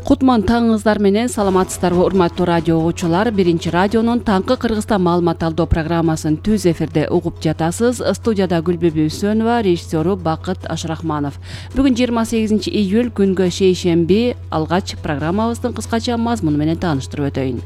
Кутман таңыңыздар менен саламатсыздарбы урматтуу радио угуучулар. Биринчи радионун таңкы Кыргызстан маалымат алуу программасын түз эфирде угуп жатасыз. Студияда Гүлбүбү Үсөнова, режиссеру Бакыт Ашрахманов. Бүгүн 28 июль күнгө шейшемби. Алгач программабыздын кыскача мазмуну менен тааныштырып өтөйүн.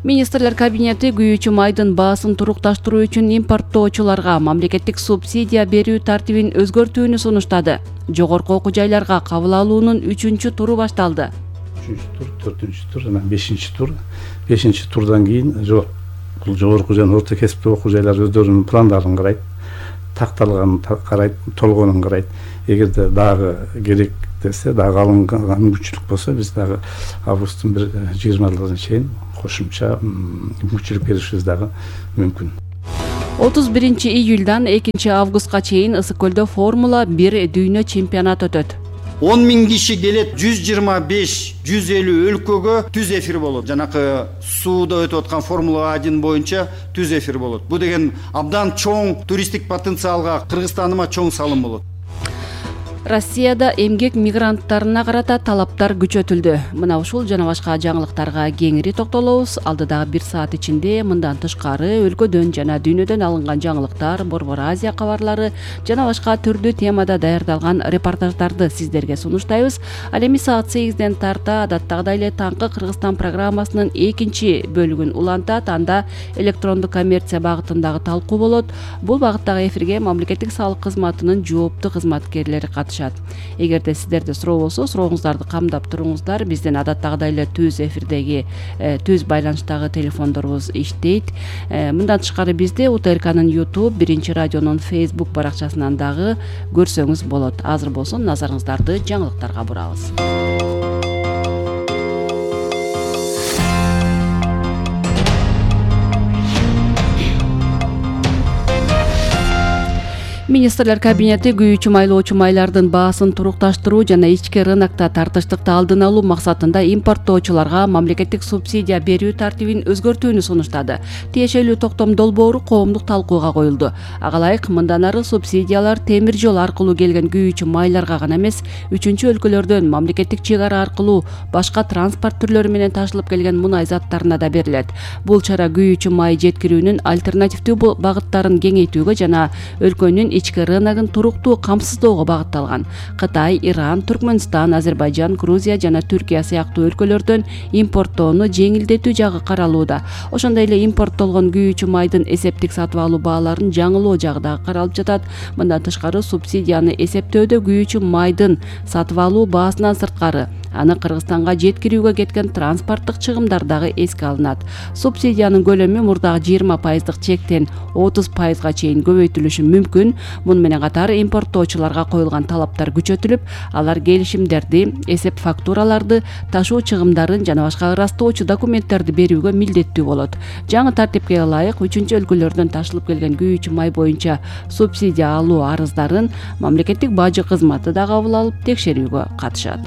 Министрлер кабинети күйүүчү майдын баасын турукташтыруу үчүн импорттоочуларга мамлекеттик субсидия берүү тартибин өзгөртүүнү сунуштады. Жогорку окуу жайларга кабыл алуунун 3-чү туру башталды. 3-тур, 4-чү тур жана 5-чи тур. 5-чи турдан кийин бул жогорку жана орто кесиптүү окуу жайлар өздөрүнүн пландарын карайт, такталганын карайт, толгонун карайт. Эгерде дагы керек десе, дагы алынган мүмкүнчүлүк болсо, биз дагы августтун 20-ына чейин кошумча мүмкүнчүлүк беришибиз дагы мүмкүн. 31 июльдан 2 августка чейин Ысык көлдө Формула 1 дүйнө чемпионаты өтөт. 10 000 киши келет, 125-150 өлкөгө түз эфир болот. Жанакы сууда өтүп аткан Формула 1 боюнча түз эфир болот. Бул деген абдан чоң туристтик потенциалга, Кыргызстаныма чоң салым болот. Россияда эмгек мигранттарына карата талаптар күчөтүлдү. Мына ушул жана башка жаңылыктарга кеңири токтолобуз. Алдыдагы 1 саат ичинде мындан тышкары өлкөдөн жана дүйнөдөн алынган жаңылыктар, Борбор Азия кабарлары жана башка түрдүү темада даярдалган репортаждарды сиздерге сунуштайбыз. Ал эми саат 8ден тарта адаттагыдай эле таңкы Кыргызстан программасынын 2 бөлүгүн улантат. Анда электрондук коммерция багытындагы талкуу болот. Бул багыттагы эфирге мамлекеттик салык кызматынын жооптуу кызматкерлери катышат. Эгерде сиздерде суроо болсо, сурооңуздарды камдап туруңуздар. Биздин адаттагыдай эле түз эфирдеги түз байланыштагы телефондорубуз иштейт. Мындан тышкары бизди УТРКнын YouTube, Биринчи радионун Facebook баракчасынан дагы көрсөңүз болот. Азыр болсо назарыңыздарды жаңылыктарга бурабыз. Министрлер кабинети күйүүчү майлоочу майлардын баасын турукташтыруу жана ички рынокто тартыштыкты алдын алуу максатында импорттоочуларга мамлекеттик субсидия берүү тартибин өзгөртүүнү сунуштады. Тиешелүү токтом долбоору коомдук талкууга коюлду. Ага ылайык мындан ары субсидиялар темир жол аркылуу келген күйүүчү майларга гана эмес, 3 өлкөлөрдөн мамлекеттик чек ара аркылуу башка транспорт түрлөрү менен ташылып келген мунай заттарына да берилет. Бул чара күйүүчү май жеткирүүнүн альтернативдүү багыттарын кеңейтүүгө жана өлкөнүн ички рыногун туруктуу камсыздоого багытталган. Кытай, Иран, Түркмөнстан, Азербайжан, Грузия жана Түркия сыяктуу өлкөлөрдөн импорттоону жеңилдетүү жагы каралууда. Ошондой эле импорттолгон күйүүчү майдын эсептик сатып алуу бааларын жаңылоо жагы дагы каралып жатат. Мындан тышкары субсидияны эсептөөдө күйүүчү майдын сатып алуу баасынан сырткары аны Кыргызстанга жеткирүүгө кеткен транспорттук чыгымдар дагы эске алынат. Субсидиянын көлөмү мурдагы 20% чектен 30%га чейин көбөйтүлүшү мүмкүн. Муну менен катар импорттоочуларга коюлган талаптар күчөтүлүп, алар келишимдерди, эсеп фактураларды, ташуу чыгымдарын жана башка ырастоочу документтерди берүүгө милдеттүү болот. Жаңы тартипке ылайык 3 өлкөлөрдөн ташылып келген күйүүчү май боюнча субсидия алуу арыздарын мамлекеттик бажы кызматы да кабыл алып текшерүүгө катышат.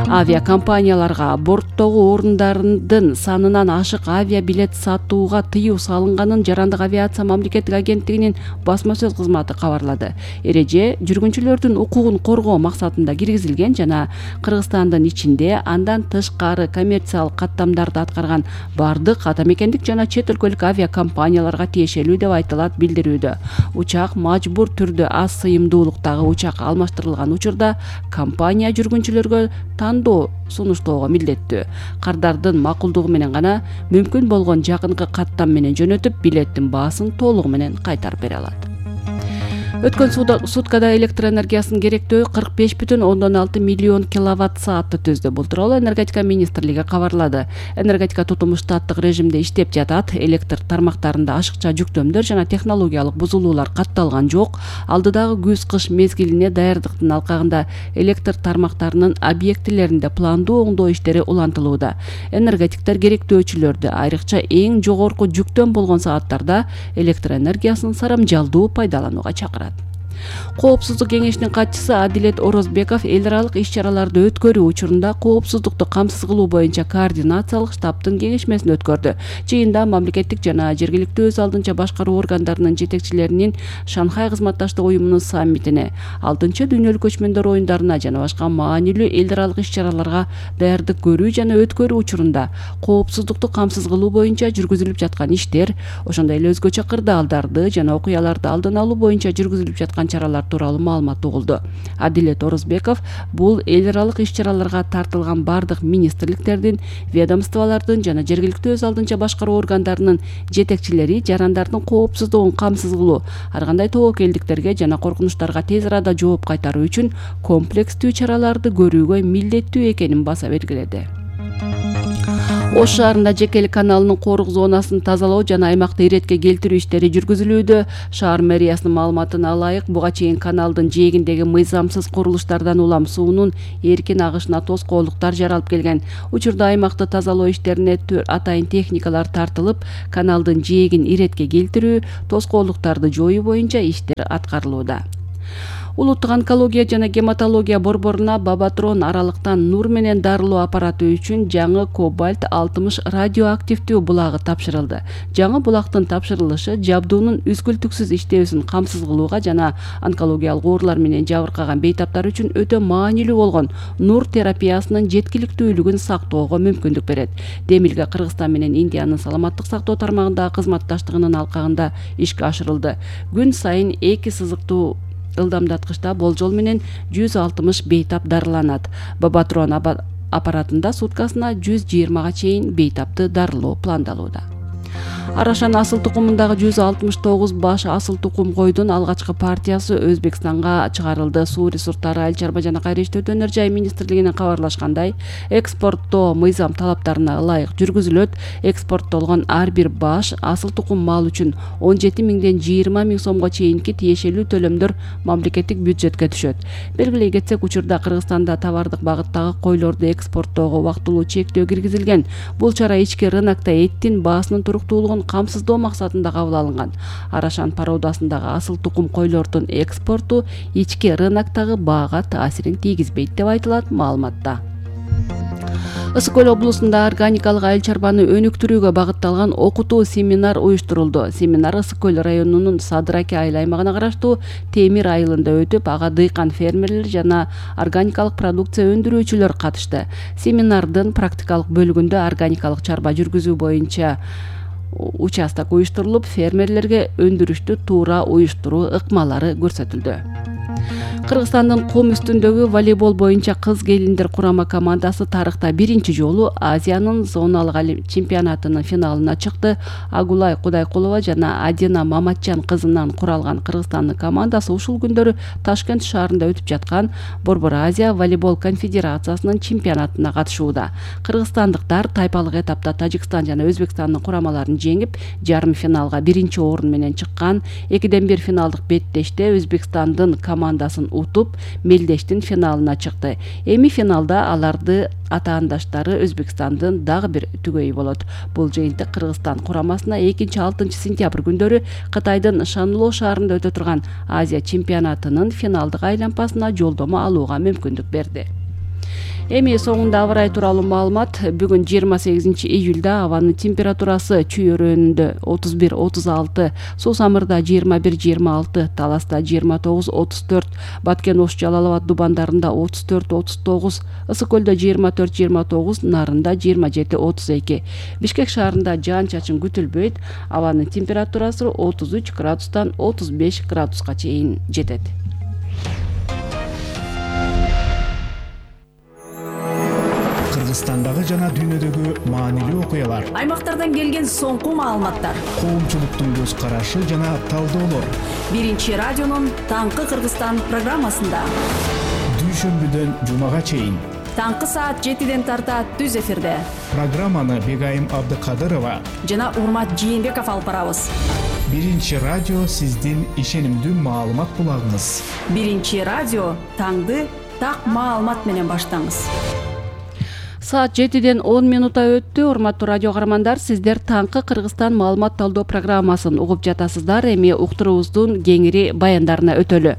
Авиакомпанияларга борттогу орундардын санынан ашык авиабилет сатууга тыюу салынганын Жарандык авиация мамлекеттик агенттигинин басма сөз кызматы кабарлады. Эреже жүргүнчүлөрдүн укугун коргоо максатында киргизилген жана Кыргызстандын ичинде андан тышкары коммерциялык каттамдарды аткарган бардык ата мекендик жана чет өлкөлүк авиакомпанияларга тиешелүү деп айтылат билдирүүдө. Учак мажбур түрдө аз сыйымдуулуктагы учак алмаштырылган учурда компания жүргүнчүлөргө тандоо сунуштоого милдеттүү. Кардардын макулдугу менен гана мүмкүн болгон жакынкы каттам менен жөнөтүп, билеттин баасын толугу менен кайтарып бере алат. Өткөн суткада электр энергиясынын керектөө 45,6 миллион киловатт саатты түздү. Бул тууралуу энергетика министрлиги кабарлады. Энергетика тутуму штаттык режимде иштеп жатат. Электр тармактарында ашыкча жүктөмдөр жана технологиялык бузулуулар катталган жок. Алдыдагы күз-кыш мезгилине даярдыктын алкагында электр тармактарынын объектилеринде пландуу оңдоо иштери улантылууда. Энергетиктер керектөөчүлөрдү, айрыкча эң жогорку жүктөм болгон сааттарда электр энергиясын сарамжалдуу пайдаланууга чакырат. Коопсуздук кеңешинин катчысы Адилет Орозбеков эл аралык иш-чараларды өткөрүү учурунда коопсуздукту камсыз кылуу боюнча координациялык штабтын кеңешмесин өткөрдү. Жыйында мамлекеттик жана жергиликтүү өз алдынча башкаруу органдарынын жетекчилеринин Шанхай кызматташтык уюмунун саммитине, 6-дүйнөлүк көчмөндөр оюндарына жана башка маанилүү эл аралык иш-чараларга даярдык көрүү жана өткөрүү учурунда коопсуздукту камсыз кылуу боюнча жүргүзүлүп жаткан иштер, ошондой эле өзгөчө кырдаалдарды жана окуяларды алдын алуу боюнча жүргүзүлүп жаткан чаралар тууралуу маалымат угулду. Адилет Орозбеков бул эл аралык иш-чараларга тартылган бардык министрликтердин, ведомстволордун жана жергиликтүү өз алдынча башкаруу органдарынын жетекчилери жарандардын коопсуздугун камсыз кылуу, ар кандай тобокелдиктерге жана коркунучтарга тез арада жооп кайтаруу үчүн комплекстүү чараларды көрүүгө милдеттүү экенин баса белгиледи. Ош шаарында Жекели каналынын корук зонасын тазалоо жана аймакты иретке келтирүү иштери жүргүзүлүүдө. Шаар мэриясынын маалыматына ылайык, буга чейин каналдын жээгиндеги мыйзамсыз курулуштардан улам суунун эркин агышына тоскоолдуктар жаралып келген. Учурда аймакты тазалоо иштерине атайын техникалар тартылып, каналдын жээгин иретке келтирүү, тоскоолдуктарды жоюу боюнча иштер аткарылууда. Улуттук онкология жана гематология борборуна Бабатрон аралыктан нур менен дарылоо аппараты үчүн жаңы кобальт 60 радиоактивдүү булагы тапшырылды. Жаңы булактын тапшырылышы жабдуунун үзгүлтүксүз иштөөсүн камсыз кылууга жана онкологиялык оорулар менен жабыркаган бейтаптар үчүн өтө маанилүү болгон нур терапиясынын жеткиликтүүлүгүн сактоого мүмкүндүк берет. Демилге Кыргызстан менен Индиянын саламаттык сактоо тармагындагы кызматташтыгынын алкагында ишке ашырылды. Күн сайын 2 сызыктуу ылдамдаткычта болжол менен 160 бейтап дарыланат. Бабатрон аппаратында суткасына 120га чейин бейтапты дарылоо пландалууда. Арашан асыл тукумундагы 169 баш асыл тукум койдун алгачкы партиясы Өзбекстанга чыгарылды. Суу ресурстары, айыл чарба жана кайра иштөө өнөр жай министрлигинен кабарлашкандай, экспорттоо мыйзам талаптарына ылайык жүргүзүлөт. Экспорттолгон ар бир баш асыл тукум мал үчүн 17 миңден 20 миң сомго чейинки тиешелүү төлөмдөр мамлекеттик бюджетке түшөт. Белгилей кетсек, учурда Кыргызстанда товардык багыттагы койлорду экспорттоого убактылуу чектөө киргизилген. Бул чара ички рынокто эттин баасынын туруктуулугун камсыздоо максатында кабыл алынган. Арашан пародасындагы асыл тукум койлордун экспорту ички рыноктогу баага таасирин тийгизбейт деп айтылат маалыматта. Ысык көл облусунда органикалык айыл чарбаны өнүктүрүүгө багытталган окутуу семинар уюштурулду. Семинар Ысык көл районунун Садыраке айыл аймагына караштуу Темир айылында өтүп, ага дыйкан фермерлер жана органикалык продукция өндүрүүчүлөр катышты. Семинардын практикалык бөлүгүндө органикалык чарба жүргүзүү боюнча участок уюштурулуп, фермерлерге өндүрүштү туура уюштуруу ыкмалары көрсөтүлдү. Кыргызстандын кум үстүндөгү волейбол боюнча кыз келиндер курама командасы тарыхта биринчи жолу Азиянын зоналык чемпионатынын финалына чыкты. Агулай Кудайкулова жана Адина Маматжан кызынан куралган Кыргызстандын командасы ушул күндөрү Ташкент шаарында өтүп жаткан Борбор Азия волейбол конфедерациясынын чемпионатына катышууда. Кыргызстандыктар тайпалык этапта Тажикстан жана Өзбекстандын курамаларын жеңип, жарым финалга биринчи орун менен чыккан. 2-1 финалдык беттеште Өзбекстандын командасын утуп, мелдештин финалына чыкты. Эми финалда аларды атаандаштары Өзбекстандын дагы бир түгөйү болот. Бул жыйынтык Кыргызстан курамасына 2-6 сентябрь күндөрү Кытайдын Шанло шаарында өтө турган Азия чемпионатынын финалдык айланпасына жолдомо алууга мүмкүндүк берди. Эми соңунда аба ырайы тууралуу маалымат. Бүгүн 28 июлда абанын температурасы Чүй өрөөнүндө 31-36, Суу Самырда 21-26, Таласта 29-34, Баткен Ош Жалал Абад дубандарында 34-39, Ысык көлдө 24-29, Нарында 27-32. Бишкек шаарында жаан-чачын күтүлбөйт. Абанын температурасы 33 градустан 35 градуска чейин жетет. Кыргызстандагы жана дүйнөдөгү маанилүү окуялар, аймактардан келген соңку маалыматтар, коомчулуктун көз карашы жана талдоолор. Биринчи радионун Таңкы Кыргызстан программасында. Дүйшөмбүдөн жумага чейин. Таңкы саат 7-ден тарта түз эфирде. Программаны Бегайым Абдыкадырова жана Урмат Жээнбеков алып барабыз. Биринчи радио сиздин ишенимдүү маалымат булагыңыз. Биринчи радио таңды так маалымат менен баштаңыз. Саат 7:10 өттү. Урматтуу радио каармандар, сиздер таңкы Кыргызстан маалымат талдоо программасын угуп жатасыздар. Эми уктуруубуздун кеңири баяндарына өтөлү.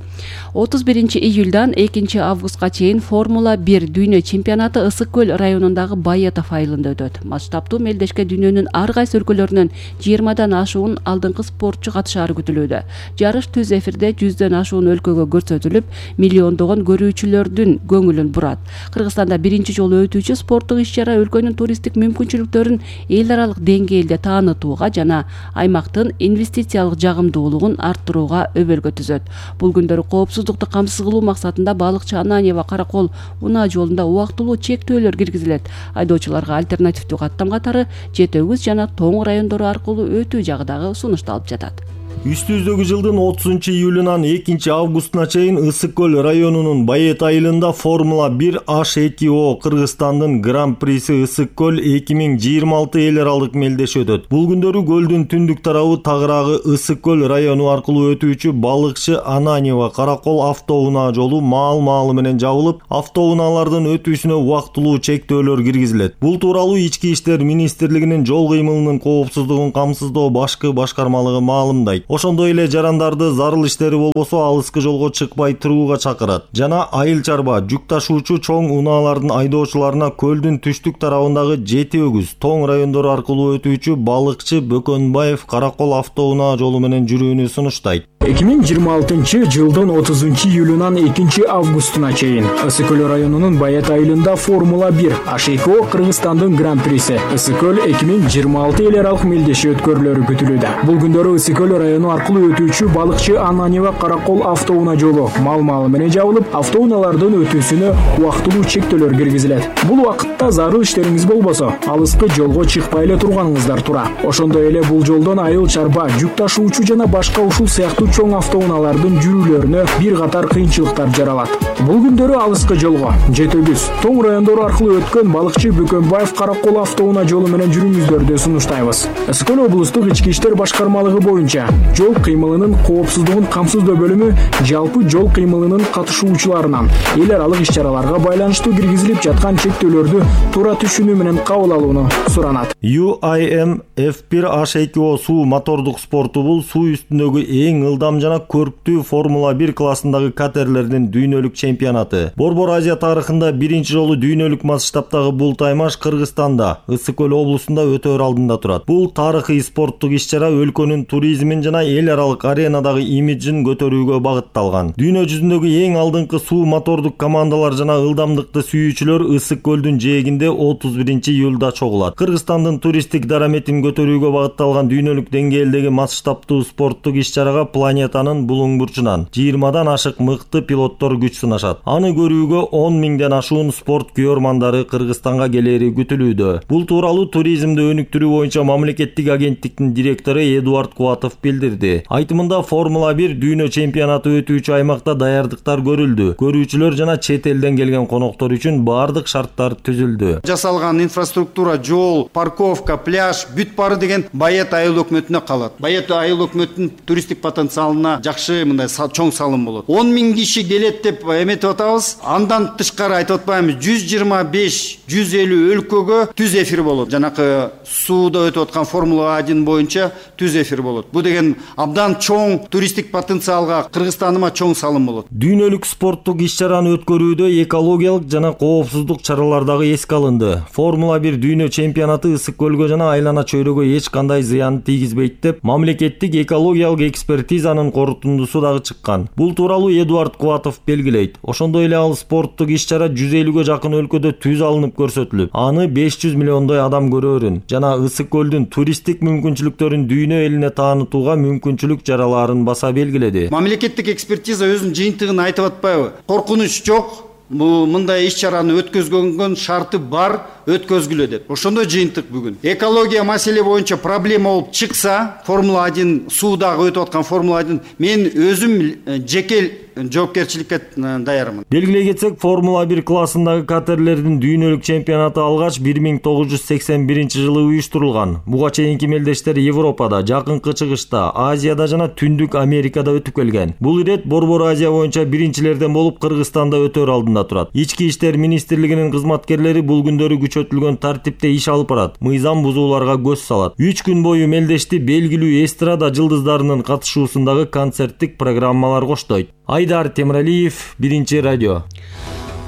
31 июлдан 2 августка чейин Формула 1 дүйнө чемпионаты Ысык көл районундагы Байетов айылында өтөт. Масштабтуу мелдешке дүйнөнүн ар кайсы өлкөлөрүнөн 20 ашуун алдыңкы спортчу катышаары күтүлүүдө. Жарыш түз эфирде 100дөн ашуун өлкөгө көрсөтүлүп, миллиондогон көрүүчүлөрдүн көңүлүн бурат. Кыргызстанда биринчи жолу өтүүчү спорттук иш-чара өлкөнүн туристтик мүмкүнчүлүктөрүн эл аралык деңгээлде таанытууга жана аймактын инвестициялык жагымдуулугун арттырууга өбөлгө түзөт. Бул күндөрү коопсуздукту камсыз кылуу максатында балыкчы Ананьева Каракол унаа жолунда убактылуу чектөөлөр киргизилет. Айдоочуларга альтернативдүү каттам катары Жети Өгүз жана Тоң райондору аркылуу өтүү жагы дагы сунушталып жатат. Үстүбүздөгү жылдын 30 июлунан 2 августуна чейин Ысык көл районунун Байет айылында Формула 1 H2O Кыргызстандын Гран-приси Ысык көл 2026 эл аралык мелдеши өтөт. Бул күндөрү көлдүн түндүк тарабы тагыраагы Ысык көл району аркылуу өтүүчү балыкчы Ананьева Каракол автоунаа жолу маал менен жабылып, автоунаалардын өтүүсүнө убактылуу чектөөлөр киргизилет. Бул тууралуу Ички иштер министрлигинин жол кыймылынын коопсуздугун камсыздоо башкы башкармалыгы маалымдайт. Ошондой эле жарандарды зарыл иштери болбосо алыскы жолго чыкпай турууга чакырат. Жана айыл чарба жүк ташуучу чоң унаалардын айдоочуларына көлдүн түштүк тарабындагы Жети Өгүз, Тоң райондору аркылуу өтүүчү балыкчы Бөкөнбаев Каракол автоунаа жолу менен жүрүүнү сунуштайт. 2026 жылдын 30 июлунан 2 августуна чейин Ысык көл районунун Байет айылында Формула 1 H2O Кыргызстандын Гран-приси Ысык көл 2026 эл аралык мелдеши өткөрүлөрү күтүлүүдө. Бул күндөрү Ысык көл району аркылуу өтүүчү балыкчы Ананьева Каракол автоунаа жолу маал менен жабылып, автоунаалардын өтүүсүнө убактылуу чектөөлөр киргизилет. Бул убакытта зарыл иштериңиз болбосо, алыскы жолго чыкпай эле турганыңыздар тура. Ошондой эле бул жолдон айыл чарба, жүк ташуучу жана башка ушул сыяктуу чоң автоунаалардын жүрүүлөрүнө бир катар кыйынчылыктар жаралат. Бул күндөрү алыскы жолго Жети Өгүз, Тоң райондору аркылуу өткөн балыкчы Бөкөнбаев Каракол автоунаа жолу менен жүрүүңүздөрдү сунуштайбыз. Ысык көл облустук ички иштер башкармалыгы боюнча жол кыймылынын коопсуздугун камсыздоо бөлүмү жалпы жол кыймылынын катышуучуларынан эл аралык иш-чараларга байланыштуу киргизилип жаткан чектөөлөрдү туура түшүнүү менен кабыл алууну суранат. UIM F1 H2O суу мотордук спорту бул суу үстүндөгү эң ылдам жана көрктүү Формула 1 классындагы катерлердин дүйнөлүк чемпионаты. Борбор Азия тарыхында биринчи жолу дүйнөлүк масштабтагы бул таймаш Кыргызстанда, Ысык көл облусунда өтөр алдында турат. Бул тарыхый спорттук иш-чара өлкөнүн туризмин жана эл аралык аренадагы имиджин көтөрүүгө багытталган. Дүйнө жүзүндөгү эң алдыңкы суу мотордук командалар жана ылдамдыкты сүйүүчүлөр Ысык көлдүн жээгинде 31 июлда чогулат. Кыргызстандын туристтик дараметин көтөрүүгө багытталган дүйнөлүк деңгээлдеги масштабтуу спорттук иш-чарага планетанын булуң бурчунан 20дан ашык мыкты пилоттор күч сынашат. Аны көрүүгө 10 миңден ашуун спорт күйөрмандары Кыргызстанга келери күтүлүүдө. Бул тууралуу туризмди өнүктүрүү боюнча мамлекеттик агенттиктин директору Эдуард Кубатов билдирди. Айтымында Формула 1 дүйнө чемпионаты өтүүчү аймакта даярдыктар көрүлдү. Көрүүчүлөр жана чет элден келген коноктор үчүн бардык шарттар түзүлдү. Жасалган инфраструктура, жол, парковка, пляж бүт бары деген Байет айыл өкмөтүнө калат. Байет айыл өкмөтүнүн туристтик потенциалына жакшы мындай чоң салым болот. 10 миң киши келет деп эметип атабыз. Андан тышкары айтып атпаймыз, 125-150 өлкөгө түз эфир болот. Жанакы сууда өтүп аткан Формула 1 боюнча түз эфир болот. Бул деген абдан чоң туристтик потенциалга, Кыргызстаныма чоң салым болот. Дүйнөлүк спорттук иш-чараны өткөрүүдө экологиялык жана коопсуздук чаралар дагы эске алынды. Формула 1 дүйнө чемпионаты Ысык көлгө жана айлана чөйрөгө эч кандай зыян тийгизбейт деп мамлекеттик экологиялык экспертизанын корутундусу дагы чыккан. Бул тууралуу Эдуард Кубатов белгилейт. Ошондой эле ал спорттук иш-чара 150гө жакын өлкөдө түз алынып көрсөтүлүп, аны 500 миллиондой адам көрөрүн жана Ысык көлдүн туристтик мүмкүнчүлүктөрүн дүйнө элине таанытууга мүмкүнчүлүк жаралаарын баса белгиледи. Мамлекеттик экспертиза өзүнүн жыйынтыгын айтып атпайбы? Коркунуч жок. Бул мындай иш-чараны өткөзгөнгөн шарты бар, өткөзгүлө деп. Ошондой жыйынтык бүгүн. Экология маселе боюнча проблема болуп чыкса, Формула 1 суудагы өтүп аткан Формула 1 мен өзүм жеке жоопкерчиликке даярмын. Белгилей кетсек, Формула 1 классындагы катерлердин дүйнөлүк чемпионаты алгач 1981 жылы уюштурулган. Буга чейинки мелдештер Европада, Жакынкы Чыгышта, Азияда жана Түндүк Америкада өтүп келген. Бул ирет Борбор Азия боюнча биринчилерден болуп Кыргызстанда өтөр алдында турат. Ички иштер министрлигинин кызматкерлери бул күндөрү күчөтүлгөн тартипте иш алып барат, мыйзам бузууларга көз салат. 3 күн бою мелдешти белгилүү эстрада жылдыздарынын катышуусундагы концерттик программалар коштойт. Айдар Темиралиев, Биринчи радио.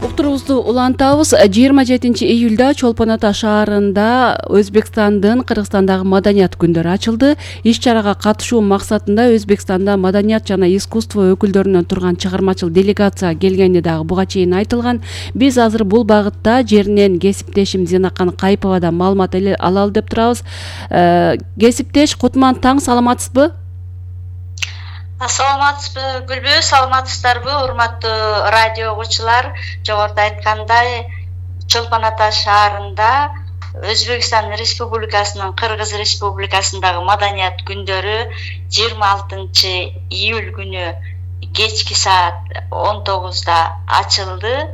Уктурубузду улантабыз. 27 июлда Чолпон Ата шаарында Өзбекстандын Кыргызстандагы маданият күндөрү ачылды. Иш-чарага катышуу максатында Өзбекстанда маданият жана искусство өкүлдөрүнөн турган чыгармачыл делегация келгени дагы буга чейин айтылган. Биз азыр бул багытта жеринен кесиптешим Зинакан Кайповадан маалымат алалы деп турабыз. Кесиптеш Кутман таң, саламатсызбы? Саламатсызбы, Гүлбү, саламатсыздарбы, урматтуу радио угуучулар? Жогоруда айткандай, Чолпон Ата шаарында Өзбекстан Республикасынын Кыргыз Республикасындагы маданият күндөрү 26 июль күнү кечки саат 19-да ачылды.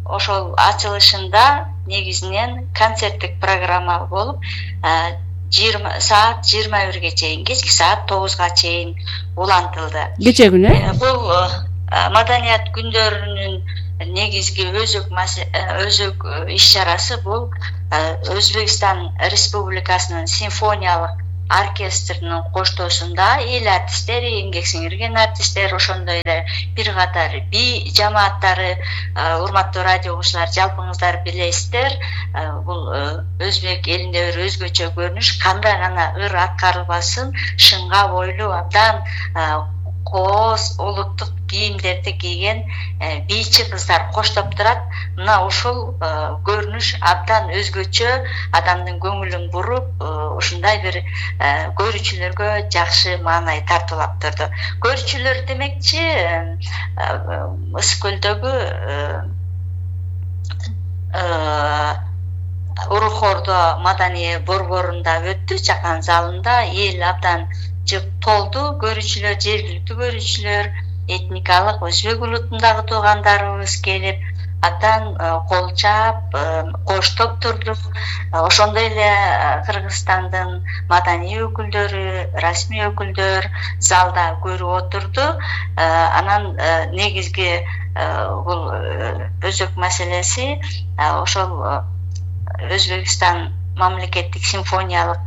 Ошол ачылышында негизинен концерттик программа болуп, саат 21-ге чейин, кечки саат 9-га чейин улантылды. Кече күнү? Бул маданият күндөрүнүн негизги өзөк иш-чарасы бул Өзбекстан Республикасынын симфониялык оркестринин коштоосунда эл артисттери, эмгек сиңирген артисттер, ошондой эле бир катар би жамааттары, урматтуу радио угуучулар, жалпыңыздар билесиздер, бул өзбек элинде бир өзгөчө көрүнүш, кандай гана ыр аткарылбасын, шыңга бойлуу, абдан кооз улуттук кийимдерди кийген бийчи кыздар коштоп турат. Мына ушул көрүнүш абдан өзгөчө, адамдын көңүлүн буруп, ушундай бир көрүүчүлөргө жакшы маанай тартуулап турду. Көрүүчүлөр демекчи, Ысык көлдөгү Урухордо маданий борборунда өттү, чакан залында эл абдан толду. Көрүүчүлөр, жергиликтүү көрүүчүлөр, этникалык өзбек улутундагы туугандарыбыз келип, абдан кол чаап, коштоп турду. Ошондой эле Кыргызстандын маданий өкүлдөрү, расмий өкүлдөр залда көрүп отурду. Анан негизги бул өзөк маселеси ошол Өзбекстан мамлекеттик симфониялык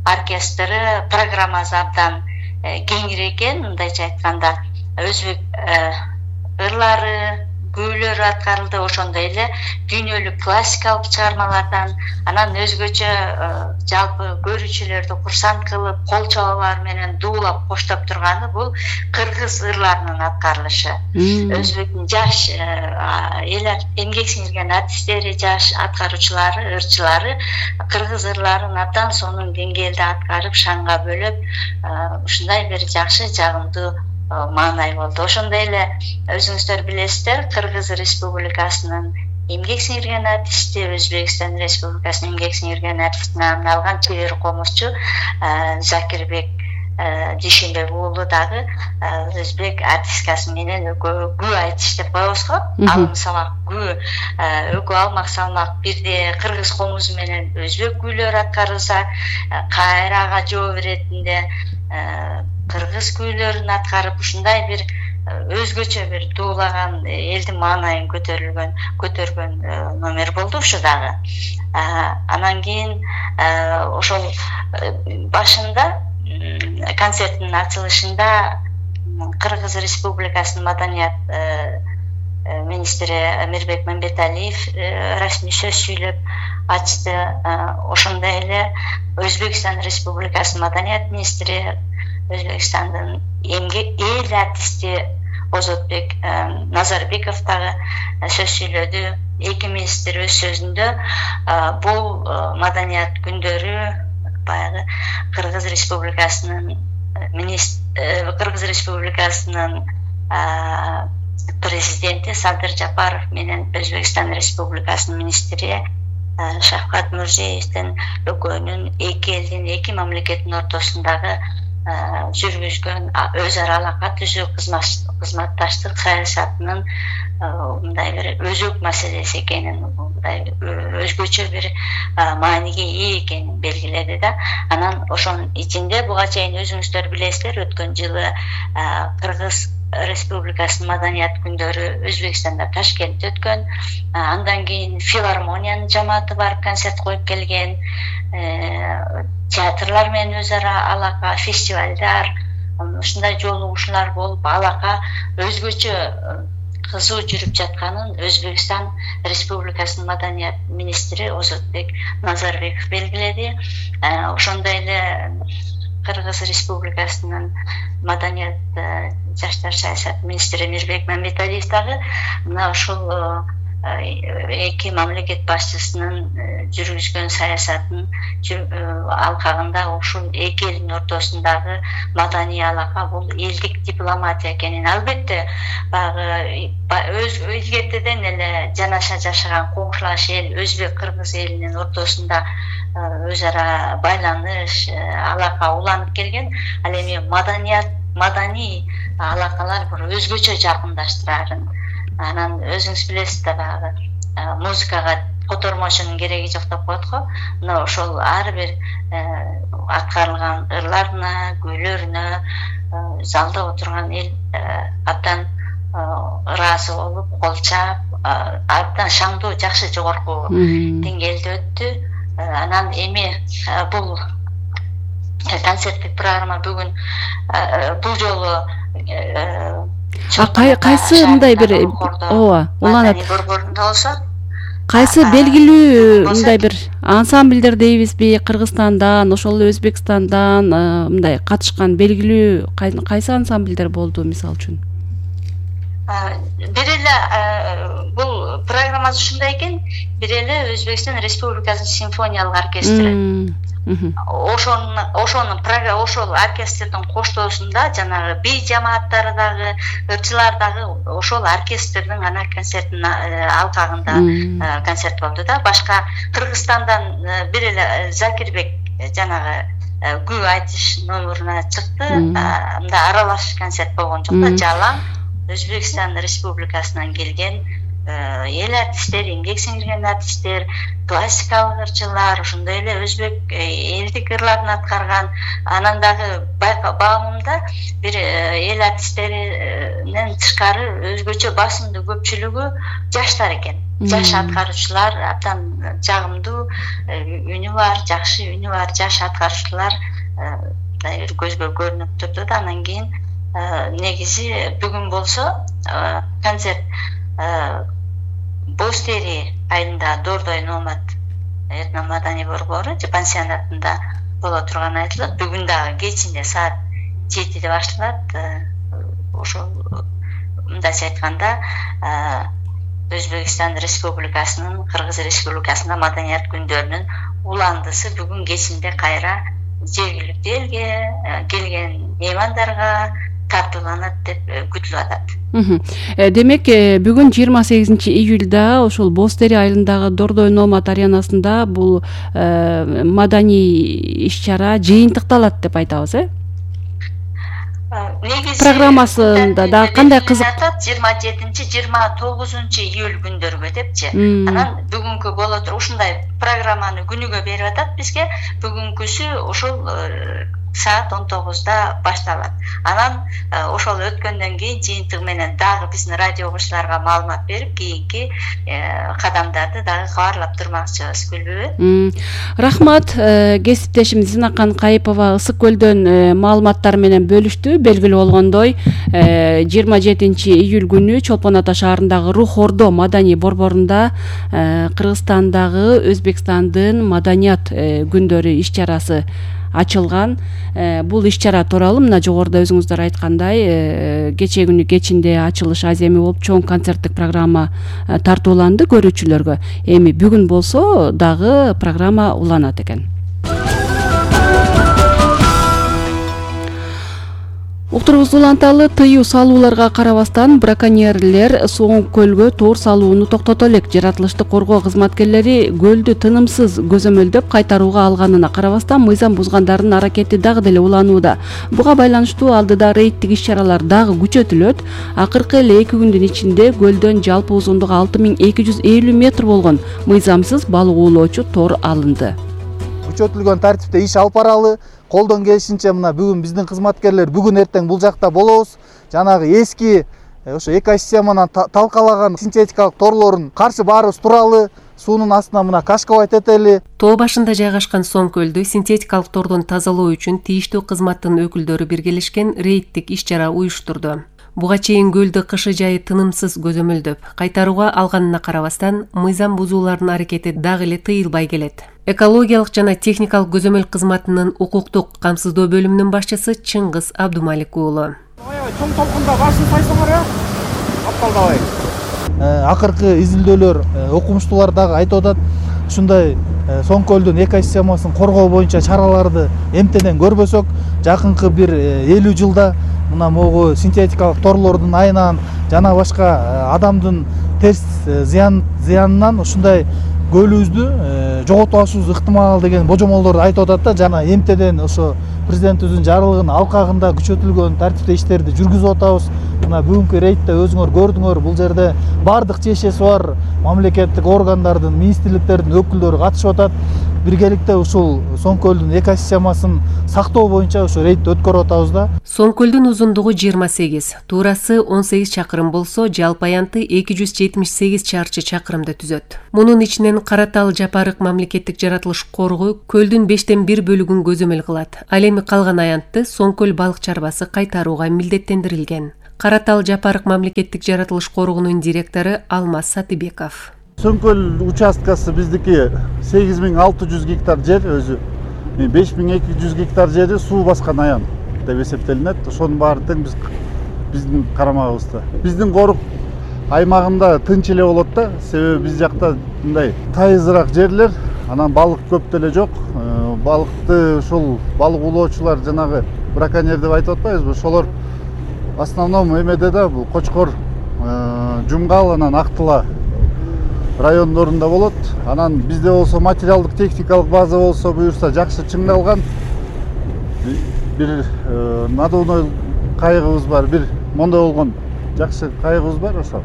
оркестры программасы абдан кеңири экен. Мындайча айтканда, өзбек ырлары, күүлөрү аткарылды, ошондой эле дүйнөлүк классикалык чыгармалардан, анан өзгөчө жалпы көрүүчүлөрдү курсант кылып, кол чабуулар менен дуулап коштоп турганы бул кыргыз ырларынын аткарылышы. Өзбектин жаш эмгек сиңирген артисттери, жаш аткаруучулары, ырчылары кыргыз ырларын абдан сонун деңгээлде аткарып, шаңга бөлөп, ушундай бир жакшы, жагымдуу маанай болду. Ошондой эле өзүңүздөр билесиздер, Кыргыз Республикасынын эмгек сиңирген артисти, Өзбекстан Республикасынын эмгек сиңирген артистине арналган чебер комузчу Закирбек Дүйшөнбек уулу дагы өзбек артисткасы менен күү айтыш деп коебуз го. Алым салмак күү, өкү алмак салмак бирде кыргыз комузу менен өзбек күүлөр аткарылса, кайрага жооп иретинде кыргыз күүлөрүн аткарып, ушундай бир өзгөчө бир дуулаган, элдин маанайын көтөргөн номер болду ушу дагы. Анан кийин ошол башында концерттин ачылышында Кыргыз Республикасынын маданият министри Мирбек Мамбеталиев расмий сөз сүйлөп ачты. Ошондой эле Өзбекстан Республикасынын маданият министри, Өзбекстандын эл артисти Озотбек Назарбеков дагы сөз сүйлөдү. Эки министр өз сөзүндө бул маданият күндөрү баягы Кыргыз Республикасынын президенти Садыр Жапаров менен Өзбекстан Республикасынын министри Шавкат Мирзиевдин экөөнүн, эки элдин, эки мамлекеттин ортосундагы жүргүзгөн өз ара алака түзүү кызматташтык саясатынын мындай бир өзөк маселеси экенин, мындай өзгөчө бир мааниге ээ экенин белгиледи да. Анан ошонун ичинде буга чейин өзүңүздөр билесиздер, өткөн жылы Кыргыз Республикасынын маданият күндөрү Өзбекстанда Ташкентте өткөн. Андан кийин филармониянын жамааты барып концерт коюп келген. Театрлар менен өз ара алака, фестивалдар, ушундай жолугушуулар болуп, алака өзгөчө кызуу жүрүп жатканын Өзбекстан Республикасынын маданият министри Озотбек Назарбеков белгиледи. Ошондой эле Кыргыз Республикасынын маданият жаштар саясат министри Мирбек Мамбеталиев дагы мына ушул эки мамлекет башчысынын жүргүзгөн саясатын алкагында ушул эки элдин ортосундагы маданий алака бул элдик дипломатия экенин, албетте баягы илгертеден эле жанаша жашаган коңшулаш эл Өзбек Кыргыз элинин ортосунда өз ара байланыш, алака уланып келген. Ал эми маданий алакалар бир өзгөчө жакындаштырарын. Анан өзүңүз билесиз да, баягы музыкага котормочунун кереги жок деп коет го. Мына ошол ар бир аткарылган ырларына, күйлөрүнө залда отурган эл абдан ыраазы болуп, кол чаап, абдан шаңдуу, жакшы жогорку деңгээлде өттү. Анан эми бул концерттик программа бүгүн бул жолу кайсы мындай бир ооба уланат борборунда болсо, кайсы белгилүү мындай бир ансамбльдер дейбизби, Кыргызстандан, ошол эле Өзбекстандан мындай катышкан белгилүү кайсы ансамбльдер болду мисалы үчүн? Бир эле бул программасы ушундай экен, бир эле Өзбекстан Республикасынын симфониялык оркестри. Ошол оркестрдин коштоосунда жанагы би жамааттары дагы, ырчылар дагы ошол оркестрдин ана концертинин алкагында концерт болду да. Башка Кыргызстандан бир эле Закирбек жанагы күй айтыш номуруна чыкты. Мында аралаш концерт болгон жок да, жалаң Өзбекстан Республикасынан келген эл артисттер, эмгек сиңирген артисттер, классикалык ырчылар, ошондой эле өзбек элдик ырларын аткарган. Анан дагы байкагымда бир эл артисттеринен тышкары өзгөчө басымдуу көпчүлүгү жаштар экен. Жаш аткаруучулар, абдан жагымдуу үнү бар, жакшы үнү бар жаш аткаруучулар көзгө көрүнүп турду да. Анан кийин негизи бүгүн болсо концерт Бостери айылында Дордой Номад этно маданий борбору же пансионатында боло турганы айтылат. Бүгүн дагы кечинде саат 7-де башталат. Ошол мындайча айтканда Өзбекстан Республикасынын, Кыргыз Республикасында маданият күндөрүнүн уландысы бүгүн кечинде кайра жергиликтүү элге келген меймандарга тартууланат деп күтүлүп атат. Демек, бүгүн 28-июлда ошол Бостери айылындагы Дордой Номад аренасында бул маданий иш-чара жыйынтыкталат деп айтабыз, Негизи программасында да кандай кызык 27-29 июль күндөргө депчи. Анан бүгүнкү боло туруп ушундай программаны күнүгө берип атат бизге. Бүгүнкүсү ошол саат 19-да башталат. Анан ошол өткөндөн кийин жыйынтыгы менен дагы биздин радио угуучуларга маалымат берип, кийинки кадамдарды дагы кабарлап турмакчыбыз, күлбүбү? Рахмат, кесиптешим Зинакан Кайыпова Ысык көлдөн маалыматтар менен бөлүштү. Белгилүү болгондой, 27-июль күнү Чолпон Ата шаарындагы Рух Ордо маданий борборунда Кыргызстандагы Өзбекстандын маданият күндөрү иш-чарасы ачылган. Бул иш-чара тууралуу мына жогоруда өзүңүздөр айткандай, кечээ күнү кечинде ачылыш аземи болуп чоң концерттик программа тартууланды көрүүчүлөргө. Эми бүгүн болсо дагы программа уланат экен. Уктурубузду уланталы. Тыюу салууларга карабастан браконьерлер Соң көлгө тоор салууну токтото элек. Жаратылышты коргоо кызматкерлери көлдү тынымсыз көзөмөлдөп кайтарууга алганына карабастан мыйзам бузгандардын аракети дагы деле уланууда. Буга байланыштуу алдыда рейдтик иш-чаралар дагы күчөтүлөт. Акыркы эле 2 күндүн ичинде көлдөн жалпы узундугу 6250 метр болгон мыйзамсыз балык уулоочу тоор алынды. Күчөтүлгөн тартипте иш алып баралы. Колдон келишинче мына бүгүн биздин кызматкерлер бүгүн эртең бул жакта болобуз. Жанагы эски ошо экосистеманан талкалаган синтетикалык торлорун каршы баарыбыз туралы. Суунун астына мына кашкабайт этели. Тоо башында жайгашкан Соң көлдү синтетикалык тордон тазалоо үчүн тийиштүү кызматтын өкүлдөрү биргелешкен рейдтик иш-чара уюштурду. Буга чейин көлдү кышы жайы тынымсыз көзөмөлдөп кайтарууга алганына карабастан мыйзам бузуулардын аракети дагы эле тыйылбай келет. Экологиялык жана техникалык көзөмөл кызматынын укуктук камсыздоо бөлүмүнүн башчысы Чыңгыз Абдумалик уулу. Чоң толкунда башын сайсаңар апталдабай. Акыркы изилдөөлөр окумуштуулар дагы айтып атат. Ушундай Соң көлдүн экосистемасын коргоо боюнча чараларды эмтеден көрбөсөк, жакынкы бир 50 жылда мына могу синтетикалык торлордун айынан жана башка адамдын терс зыянынан ушундай көлүбүздү жоготуп алышыбыз ыктымал деген божомолдорду айтып атат да. Жана эмтеден ошо президентибиздин жарлыгынын алкагында күчөтүлгөн тартипте иштерди жүргүзүп атабыз. Мына бүгүнкү рейдте өзүңөр көрдүңөр, бул жерде бардык чечеси бар мамлекеттик органдардын, министрликтердин өкүлдөрү катышып атат. Биргеликте ушул Соң көлдүн экосистемасын сактоо боюнча ошо рейд өткөрүп атабыз да. Соң көлдүн узундугу 28, туурасы 18 чакырым болсо, жалпы аянты 278 чарчы чакырымды түзөт. Мунун ичинен Каратал Жапарык мамлекеттик жаратылыш коргоо көлдүн 5тен 1 бөлүгүн көзөмөл кылат. Ал эми калган аянтты Соң көл балык чарбасы кайтарууга милдеттендирилген. Каратал Жапарык мамлекеттик жаратылыш коргоонун директору Алмаз Сатыбеков. Соң көл участкасы биздики 8600 гектар жер, өзү 5200 гектар жери суу баскан аян деп эсептелинет. Ошонун баары тең биздин карамагыбызда. Биздин корук аймагында тынч эле болот да, себеби биз жакта мындай тайызыраак жерлер, анан балык көп деле жок. Балыкты ушул балык уулоочулар жанагы браконьер деп айтып атпайбызбы? Ошолор в основном эмеде да, бул Кочкор, Жумгал, анан Актыла райондорунда болот. Анан бизде болсо материалдык техникалык база болсо буюрса жакшы чыңдалган. Бир надувной кайыгыбыз бар, бир мондой болгон жакшы кайыгыбыз бар ошо.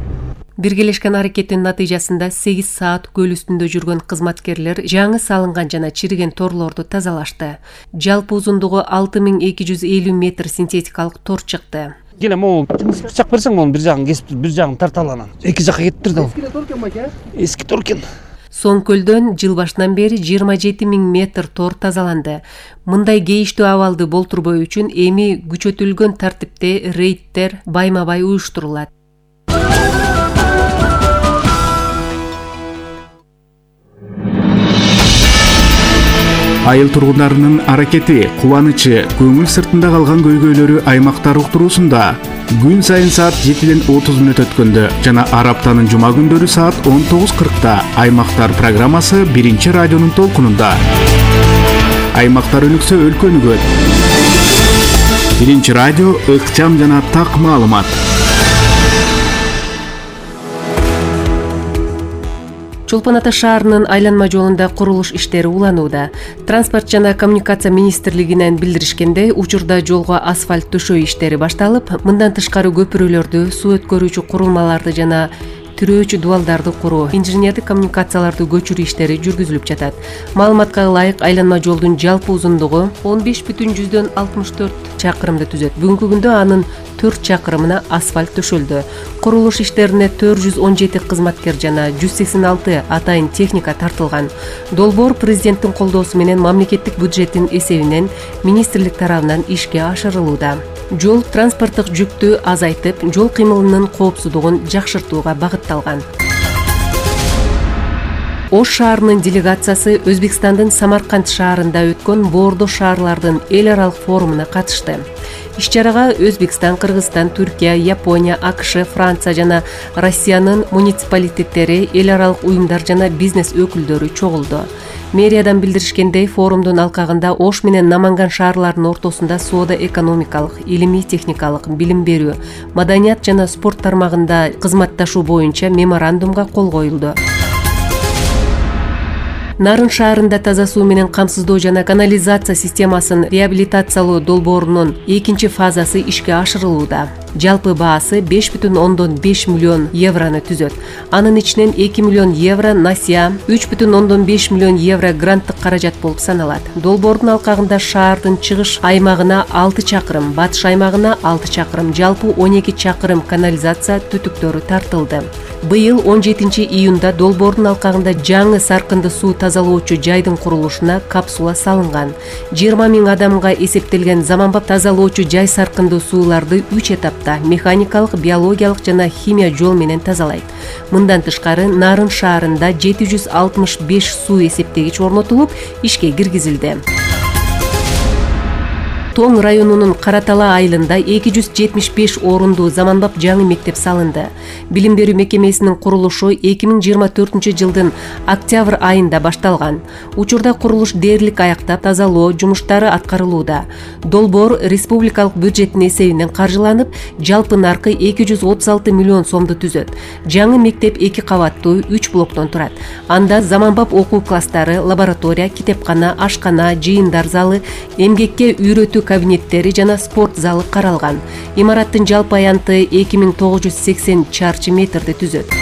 Биргелешкен аракеттин натыйжасында 8 саат көл үстүндө жүргөн кызматкерлер жаңы салынган жана чириген торлорду тазалашты. Жалпы узундугу 6250 метр синтетикалык тор чыкты. Келе могу бычак берсең, монун бир жагын кесип, бир жагын тарталы анан. Эки жакка кетиптир да. Эски торкен байке? Эски торкен. Соң көлдөн жыл башынан бери 27 000 метр тор тазаланды. Мындай кейиштүү абалды болтурбоо үчүн эми күчөтүлгөн тартипте рейдтер байма-бай уюштурулат. Айыл тургундарынын аракети, кубанычы, көңүл сыртында калган көйгөйлөрү аймактар уктуруусунда күн сайын саат 7ден 30 мүнөт өткөндө жана ар аптанын жума күндөрү саат 19:40 аймактар программасы биринчи радионун толкунунда. Аймактар өнүксө өлкө өнүгөт. Биринчи радио ыкчам жана так маалымат. Чолпон Ата шаарынын айланма жолунда курулуш иштери уланууда. Транспорт жана коммуникация министрлигинен билдиришкендей, учурда жолго асфальт төшөө иштери башталып, мындан тышкары көпүрөлөрдү, суу өткөрүүчү курулмаларды жана тирөөчү дубалдарды куруу, инженердик коммуникацияларды көчүрүү иштери жүргүзүлүп жатат. Маалыматка ылайык, айланма жолдун жалпы узундугу 15,64 чакырымды түзөт. Бүгүнкү күндө анын 4 чакырымына асфальт төшөлдү. Курулуш иштерине 417 кызматкер жана 186 атайын техника тартылган. Долбоор президенттин колдоосу менен мамлекеттик бюджеттин эсебинен министрлик тарабынан ишке ашырылууда. Жол транспорттук жүктү азайтып, жол кыймылынын коопсуздугун жакшыртууга багытталган. Ош шаарынын делегациясы Өзбекстандын Самарканд шаарында өткөн Боордо шаарлардын эл аралык форумуна катышты. Иш-чарага Өзбекстан, Кыргызстан, Түркия, Япония, АКШ, Франция жана Россиянын муниципалитеттери, эл аралык уюмдар жана бизнес өкүлдөрү чогулду. Мэриядан билдиришкендей, форумдун алкагында Ош менен Наманган шаарларынын ортосунда соода-экономикалык, илимий-техникалык, билим берүү, маданият жана спорт тармагында кызматташуу боюнча меморандумга кол коюлду. Нарын шаарында таза суу менен камсыздоо жана канализация системасын реабилитациялоо долбоорунун 2 фазасы ишке ашырылууда. Жалпы баасы 5,5 миллион евроны түзөт. Анын ичинен 2 миллион евро насия, 3,5 миллион евро гранттык каражат болуп саналат. Долбоордун алкагында шаардын чыгыш аймагына 6 чакырым, батыш аймагына 6 чакырым, жалпы 12 чакырым канализация түтүктөрү тартылды. Быйыл 17 июнда долбоордун алкагында жаңы саркынды суу тазалоочу жайдын курулушуна капсула салынган. 20 000 адамга эсептелген заманбап тазалоочу жай саркынды сууларды 3 этапта механикалык, биологиялык жана химия жол менен тазалайт. Мындан тышкары Нарын шаарында 765 суу эсептегич орнотулуп, ишке киргизилди. Тоң районунун Каратала айылында 275 орундуу заманбап жаңы мектеп салынды. Билим берүү мекемесинин курулушу 2024 жылдын октябрь айында башталган. Учурда курулуш дээрлик аяктап, тазалоо жумуштары аткарылууда. Долбоор республикалык бюджеттин эсебинен каржыланып, жалпы наркы 236 миллион сомду түзөт. Жаңы мектеп 2 кабаттуу 3 блоктон турат. Анда заманбап окуу класстары, лаборатория, китепкана, ашкана, жыйындар залы, эмгекке үйрөтүү кабинеттери жана спорт залы каралган. Имараттын жалпы аянты 2980 чарчы метрди түзөт.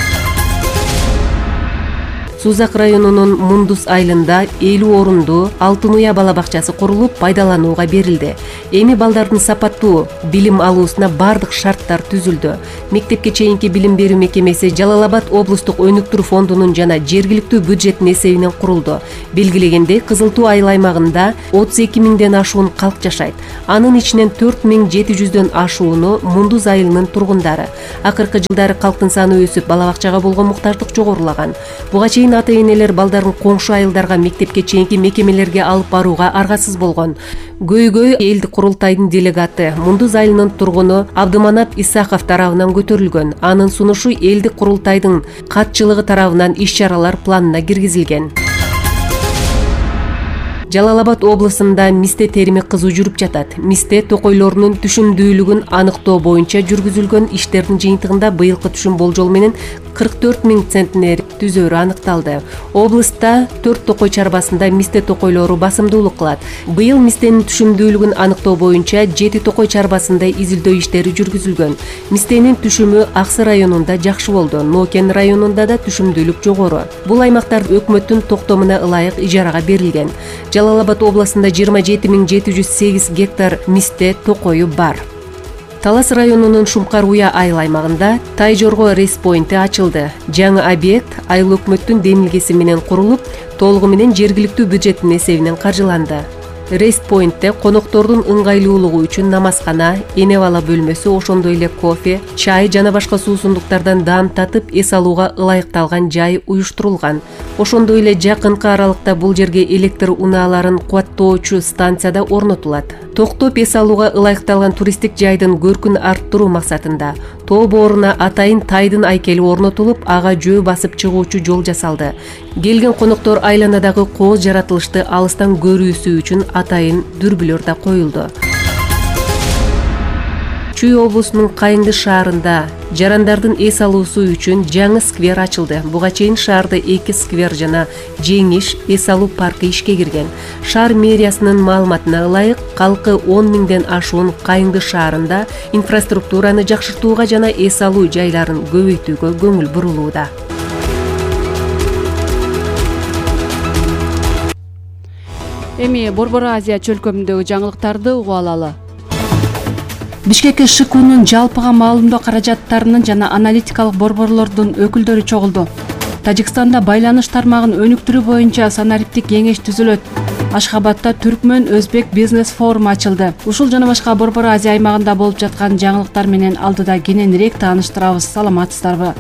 Сузак районунун Мундус айылында 50 орундуу Алтын Уя бала бакчасы курулуп, пайдаланууга берилди. Эми балдардын сапаттуу билим алуусуна бардык шарттар түзүлдү. Мектепке чейинки билим берүү мекемеси Жалал-Абад облустук өнүктүрүү фондунун жана жергиликтүү бюджеттин эсебинен курулду. Белгилегендей, Кызыл Туу айыл аймагында 32 000ден ашуун калк жашайт. Анын ичинен 4700дөн ашууну Мундуз айылынын тургундары. Акыркы жылдары калктын саны өсүп, бала бакчага болгон муктаждык жогорулаган. Буга чейин ата-энелер балдарын коңшу айылдарга, мектепке чейинки мекемелерге алып барууга аргасыз болгон. Көйгөй элдик курултайдын делегаты, Мундуз айылынын тургуну Абдыманап Исахов тарабынан көтөрүлгөн. Анын сунушу элдик курултайдын катчылыгы тарабынан иш-чаралар планына киргизилген. Жалал-Абад облусунда мисте терими кызуу жүрүп жатат. Мисте токойлорунун түшүмдүүлүгүн аныктоо боюнча жүргүзүлгөн иштердин жыйынтыгында быйылкы түшүм болжол менен 44 000 центнер түзөрү аныкталды. Облуста 4 токой чарбасында мисте токойлору басымдуулук кылат. Быйыл мистенин түшүмдүүлүгүн аныктоо боюнча 7 токой чарбасында изилдөө иштери жүргүзүлгөн. Мистенин түшүмү Аксы районунда жакшы болду. Нокен районунда да түшүмдүүлүк жогору. Бул аймактар өкмөттүн токтомуна ылайык ижарага берилген. Жалал-Абад областында 27 708 гектар мисте токою бар. Талас районунун Шумкар Уя айыл аймагында Тайжорго рейс-поинти ачылды. Жаңы объект айыл өкмөттүн демилгеси менен курулуп, толугу менен жергиликтүү бюджеттин эсебинен каржыланды. Рейс-поинтте коноктордун ыңгайлуулугу үчүн намазкана, эне-бала бөлмөсү, ошондой эле кофе, чай жана башка суусундуктардан даам татып, эс алууга ылайыкталган жай уюштурулган. Ошондой эле жакынкы аралыкта бул жерге электр унааларын кубаттоочу станцияда орнотулат. Токтоп эс алууга ылайыкталган туристтик жайдын көркүн арттыруу максатында тоо бооруна атайын тайдын айкели орнотулуп, ага жөө басып чыгуучу жол жасалды. Келген коноктор айланадагы кооз жаратылышты алыстан көрүүсү үчүн атайын дүрбүлөр да коюлду. Чүй облусунун Кайыңды шаарында жарандардын эс алуусу үчүн жаңы сквер ачылды. Буга чейин шаарда 2 сквер жана жеңиш эс алуу паркы ишке кирген. Шаар мэриясынын маалыматына ылайык, калкы 10 000ден ашуун Кайыңды шаарында инфраструктураны жакшыртууга жана эс алуу жайларын көбөйтүүгө көңүл бурулууда. Эми Борбор Азия чөлкөмүндөгү жаңылыктарды угуп алалы. Бишкекке ШКУнун жалпыга маалымдоо каражаттарынын жана аналитикалык борборлордун өкүлдөрү чогулду. Тажикстанда байланыш тармагын өнүктүрүү боюнча санариптик кеңеш түзүлөт. Ашхабадда Түркмөн Өзбек бизнес форуму ачылды. Ушул жана башка Борбор Азия аймагында болуп жаткан жаңылыктар менен алдыда кененирээк тааныштырабыз. Саламатсыздарбы?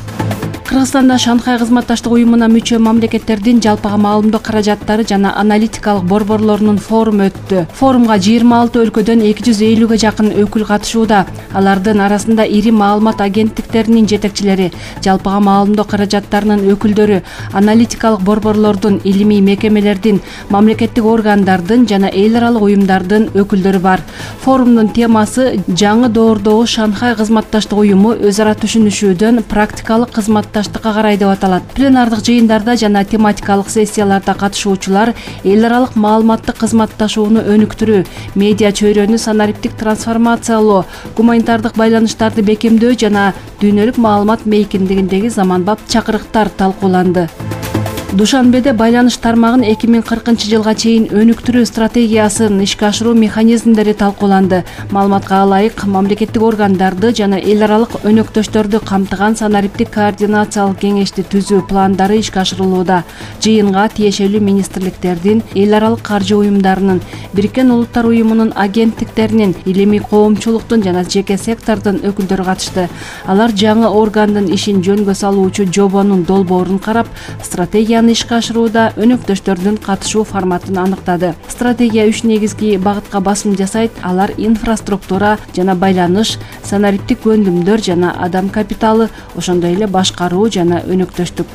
Кыргызстанда Шанхай кызматташтык уюмуна мүчө мамлекеттердин жалпыга маалымдоо каражаттары жана аналитикалык борборлорунун форуму өттү. Форумга 26 өлкөдөн 250ге жакын өкүл катышууда. Алардын арасында ири маалымат агенттиктеринин жетекчилери, жалпыга маалымдоо каражаттарынын өкүлдөрү, аналитикалык борборлордун, илимий мекемелердин, мамлекеттик органдардын жана эл аралык уюмдардын өкүлдөрү бар. Форумдун темасы жаңы доордогу Шанхай кызматташтык уюму өз ара түшүнүшүүдөн практикалык кызматташтыкка карай деп аталат. Пленардык жыйындарда жана тематикалык сессияларда катышуучулар эл аралык маалыматтык кызматташууну өнүктүрүү, медиа чөйрөнү санариптик трансформациялоо, гуманитардык байланыштарды бекемдөө жана дүйнөлүк маалымат мейкиндигиндеги заманбап чакырыктар талкууланды. Душанбеде байланыш тармагын 2040 жылга чейин өнүктүрүү стратегиясын ишке ашыруу механизмдери талкууланды. Маалыматка ылайык мамлекеттик органдарды жана эл аралык өнөктөштөрдү камтыган санариптик координациялык кеңешти түзүү пландары ишке ашырылууда. Жыйынга тиешелүү министрликтердин, эл аралык каржы уюмдарынын, Бириккен Улуттар уюмунун агенттиктеринин, илимий коомчулуктун жана жеке сектордун өкүлдөрү катышты. Алар жаңы органдын ишин жөнгө салуучу жобонун долбоорун карап, стратегияны ишке ашырууда өнөктөштөрдүн катышуу форматын аныктады. Стратегия 3 негизги багытка басым жасайт. Алар инфраструктура жана байланыш, санариптик өндүмдөр жана адам капиталы, ошондой эле башкаруу жана өнөктөштүк.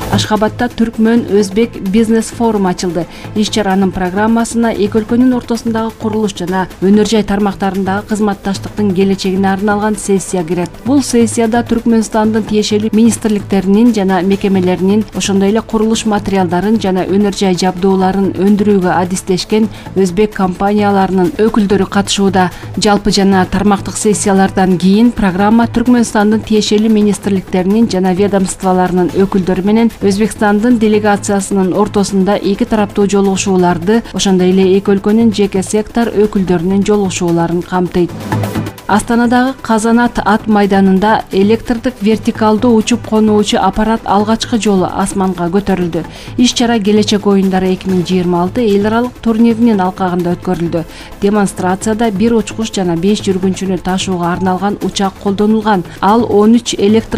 Ашхабадда Түркмөн-Өзбек бизнес форуму ачылды. Иш-чаранын программасына эки өлкөнүн ортосундагы курулуш жана өнөр жай тармактарындагы кызматташтыктын келечегине арналган сессия кирет. Бул сессияда Түркмөнстандын тиешелүү министрликтеринин жана мекемелеринин, ошондой эле курулуш материалдарын жана өнөр жай жабдууларын өндүрүүгө адистешкен өзбек компанияларынын өкүлдөрү катышууда. Жалпы жана тармактык сессиялардан кийин программа Түркмөнстандын тиешелүү министрликтеринин жана ведомстволорунун өкүлдөрү менен Өзбекстандын делегациясынын ортосунда эки тараптуу жолугушууларды, ошондой эле эки өлкөнүн жеке сектор өкүлдөрүнүн жолугушууларын камтыйт. Астанадагы Казанат ат майданында электрдик вертикалдуу учуп конуучу аппарат алгачкы жолу асманга көтөрүлдү. Иш-чара Келечек оюндары 2026 эл аралык турниринин алкагында өткөрүлдү. Демонстрацияда бир учкуч жана 5 жүргүнчүнү ташууга арналган учак колдонулган. Ал 13 электр